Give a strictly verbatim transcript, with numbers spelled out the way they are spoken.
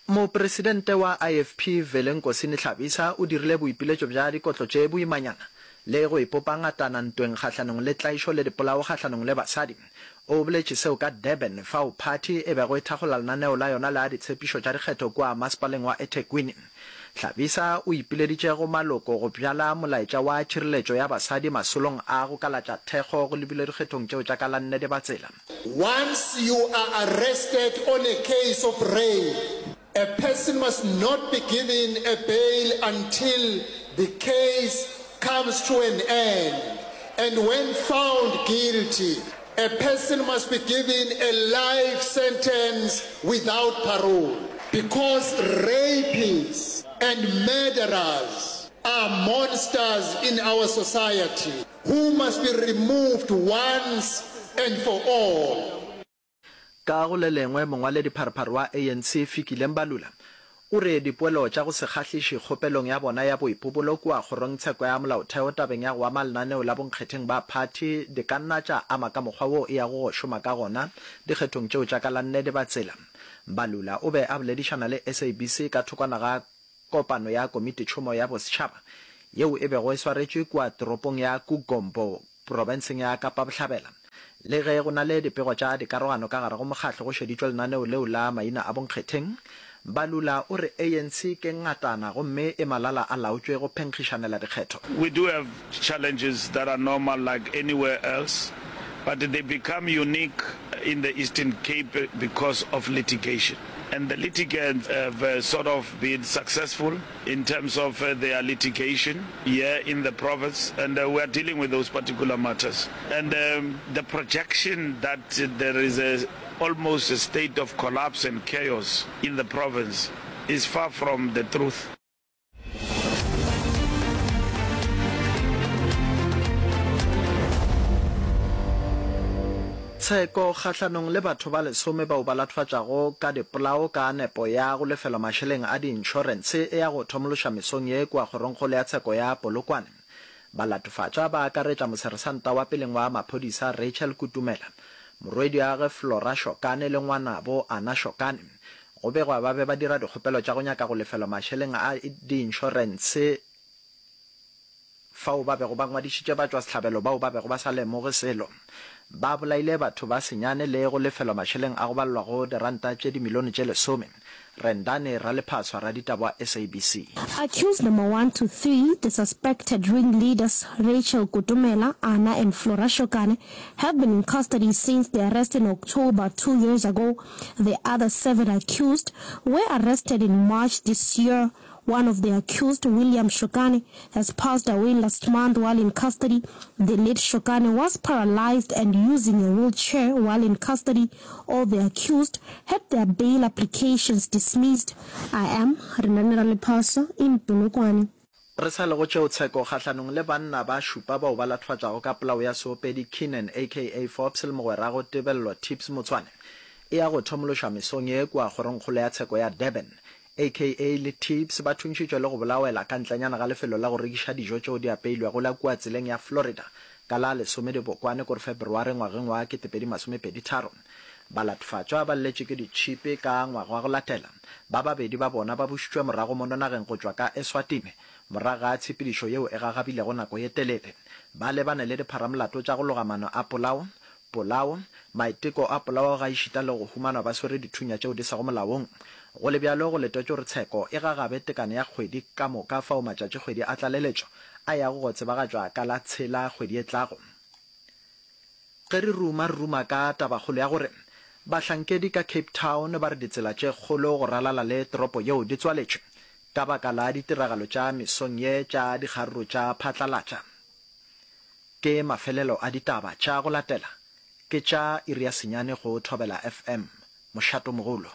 Mopresidente wa I F P Velenkosini Hlabisa o dirile boipiletšo bja dikotlo tše boimanyana le go ipopa ngatana ntweng kgahlanong le tlaišo le dipolao kgahlanong le basadi. O boletše seo ka Durban fao phathi e bego e thakgola lenaneo la yona la ditshepišo tša dikgetho kua masepaleng wa eThekwini. Hlabisa o ipileditše go maloko go bjala molaetša wa tšhireletšo ya basadi masolong a go kalatša thekgo go lebile dikgethong tšeo tša ka la nne Dibatsela. Once you are arrested on a case of rape, a person must not be given a bail until the case comes to an end. And when found guilty, a person must be given a life sentence without parole. Because rapists and murderers are monsters in our society who must be removed once and for all. Ka go le lengwe, mongwaledipharephare wa A N C Fikile Mbalula o re dipoelo tša go se kgahliše kgopelong ya bona ya boipobolo kua kgorongtsheko ya molaotheo tabeng ya go ama lenaneo la bonkgetheng ba phathi di ka nna tša ama ka mokgwa wo e yago go šoma ka gona dikgethong tšeo tša ka la nne Dibatsela. Mbalula o be a boledišana le S A B C ka thokwana ga kopano ya komititšhomo ya bosetšhaba yeo e bego e swaretšwe kua toropong ya Kugombo profenseng ya Kapa Bohlabela. Le ge go na le dipego tša dikarogano ka gare go mokgatlo go šeditšwe lenaneo leo la maina a bonkgetheng, Mbalula o re A N C ke ngatana gomme e malala a laotšwe go phenkgišanela dikgetho. We do have challenges that are normal like anywhere else, but they become unique in the Eastern Cape because of litigation. And the litigants have uh, sort of been successful in terms of uh, their litigation here in the province, and uh, we are dealing with those particular matters. And um, the projection that there is a almost a state of collapse and chaos in the province is far from the truth. Tsheko kgahlanong le batho ba lesome bao ba latofatšago ka dipolao ka nepo ya go lefelwa mašeleng a diinšorense e ya go thomološa mesong ye kua kgorongkgolo ya tsheko ya Polokwane. Balatofatšwa ba akaretša moseresanta wa peleng wa maphodisa Rachel Kutumela, morwediagwe Flora Shokane le ngwanabo Anna Shokane. Go begwa ba be ba dira dikgopelo tša go nyaka go lefelwa mašeleng a diinšorense fao ba bego ba ngwadišitše batšwasehlabelo bao ba bego ba sa lemoge selo. Ba bolaile batho ba senyane le go lefelwa mašeleng a go balelwa go diranta tše dimilione tše lesome. Rendani Ralephaswa, raditaba wa S A B C. Accused number one to three, the suspected ringleaders Rachel Kutumela, Anna and Flora Shokane, have been in custody since their arrest in October two years ago. The other seven accused were arrested in March this year. One of the accused, William Shokane, has passed away last month while in custody. The late Shokane was paralyzed and using a wheelchair while in custody. All the accused had their bail applications dismissed. I am Renani Ralephaswa in Polokwane. Re sa le go tšeo, tsheko kgahlanong le banna ba šupa bao ba latofatšago ka polao ya seopedi Keenan aka Forbes le mogwerago Tebello Tips Motshwane e ya go thomološwa mesong ye kua kgorongkgolo ya tsheko ya Durban. A K A le Tips ba thuntšhitšwe le go bolawela ka ntlenyana ga lefelo la go rekiša dijo tšeo di apeilwego la kua tseleng ya Florida ka la lesome Dibokwane kore Feberware ngwageng wa ketepedi masomepedi tharo. Balatofatšwa ba lletše ke ditšhipi ka ngwaga wa go latela. Ba babedi ba bona ba bušitšwe morago mono nageng go tšwa ka Eswatini morago ga tshepedišo yeo e gagabilego nako ye telele. Ba lebane le dipharamolato tša go loga maano a polao, polao, maiteko a polao gaešita le go humanwa ba swere dithunya tšeo di sego molaong. Go le bjalo, go letetšwe gore tsheko e gagabe tekano ya kgwedi ka moka fao matšatšikgwedi a tlaleletšo a yago go tsebagatšwa ka la tshela kgwedi e tlago. Ge re ruma, re ruma ka tabakgolo ya gore bahlankedi ka Cape Town ba re ditsela tše kgolo go ralala le toropo yeo di tswaletšwe ka baka la ditiragalo tša mesong ye tša dikgaruru tša phatlalatša. Ke mafelelo a ditaba tša go latela ke tša iri ya senyane go Thobela F M. Mošatomogolo.